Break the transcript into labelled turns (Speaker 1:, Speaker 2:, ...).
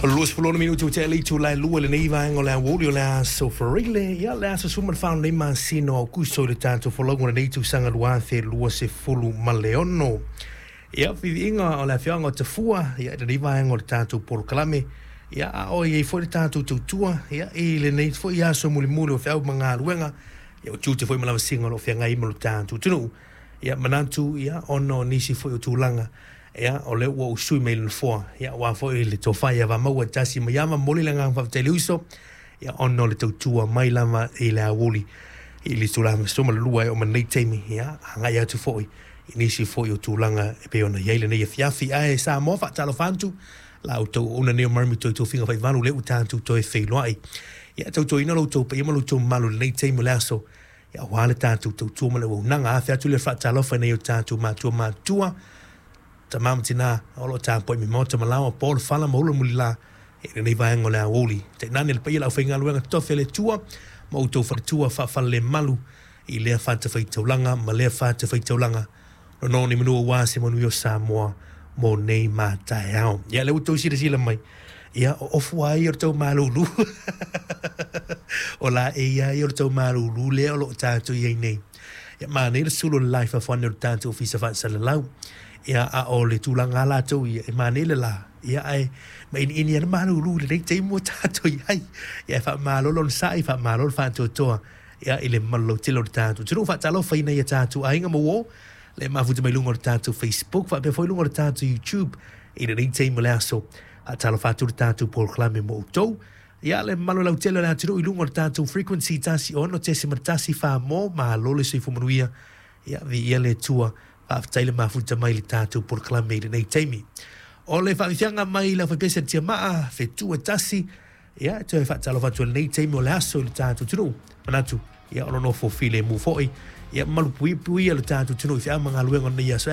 Speaker 1: O le 26 minute ua tea le itula e 2 i lenei vaega o le aoauli o le aso Faraile, ia le aso 14 o lenei masina o Aokuso i le tatou folauga o lenei tausaga 2026. Ia, viiviiga o le afioaga o Tafua, ia, i lenei vaega o le tatou polokalame, ia, a o i ai foi le tatou tautua, ia, i lenei foi aso mulimuli o feau ma galuega, ia, o tiute foi ma lavasiga o lo o feagai ai ma lo tatou atunuu. Ia, manatu, ia, ona o nisi foi o tulaga, ia, o lea ua ou sui mai i le nofoa, ia, aua foi le tofa ia Vamaua e tasi mai ama, momoli le agaga faafetai i le uso, ia, ona o le tautua mai lava i le aoauli i le itula 12 e oo mai lenei taimi, ia, agai atu foi i nisi foi o tulaga e pei ona i ai lenei afiafi. Ae Samoa, faatalofa atu la outou auauna nei o Marami Toi Tofiga Faivalu, lea ua tatou toe feiloai. Ia, tautuaina lo outou paia ma lo outou mamalu i lenei taimi o le aso, ia, aua le tatou tautua ma le auaunaga. Afe atu le faatalofa i nai o tatou matua matutua, tama ma tina o lo o tapuai mai maota ma laoa, po le fala ma ula mulila i lenei vaega o le aoauli. Tainane le paia o le aufaigaluega totofi a le Atua ma outou faletua faafalalemalu i lea fatafaitaulaga ma lea fatafaitaulaga, nono ni manu aua se manuia o Samoa mo nei ma taeao. Ia, lea ua outou silasila mai, ia, o ofu lava ia o le tau malulu. O la e ia ia o le tau malulu lea o lo o tatou i ai nei. Ia, manaia le sulu o le la i fafo ane o le tatou ofisa faasalalau. Ia, a o le tulaga lava latou ia, e manaia le la, ia, ae mainiini lava le malulu i lenei taimi ua tatou i ai. Ia, e faamalo le onosai, faamalo le faatoatoa, ia, i le mamalu lautele o le tatou atunuu. Faatalofa i nai a tatou aiga ma uo, le mafuta mai luga o le tatou Facebook, faapea foi luga o le tatou YouTube i lenei taimi o le aso. Faatalofa atu le tatou polokalame mo outou. Ia, le mamalu lautele o le atunuu i luga o le tatou frequency 16.1 mo, malo le soifua manuia. Ia, viia le Atua, faafetai le mafuta mai i le tatou polokalame i lenei taimi. O le faafiafiaga mai le aufaipese a le Tiamaa, fetu e tasi, ia, e toe faatalofa atu i lenei taimi o le aso i le tatou atunuu. Manatu, ia, o lo nofo filemu foi, ia, malupuipuia le tatou atunuu i feau ma galuega o lenei aso.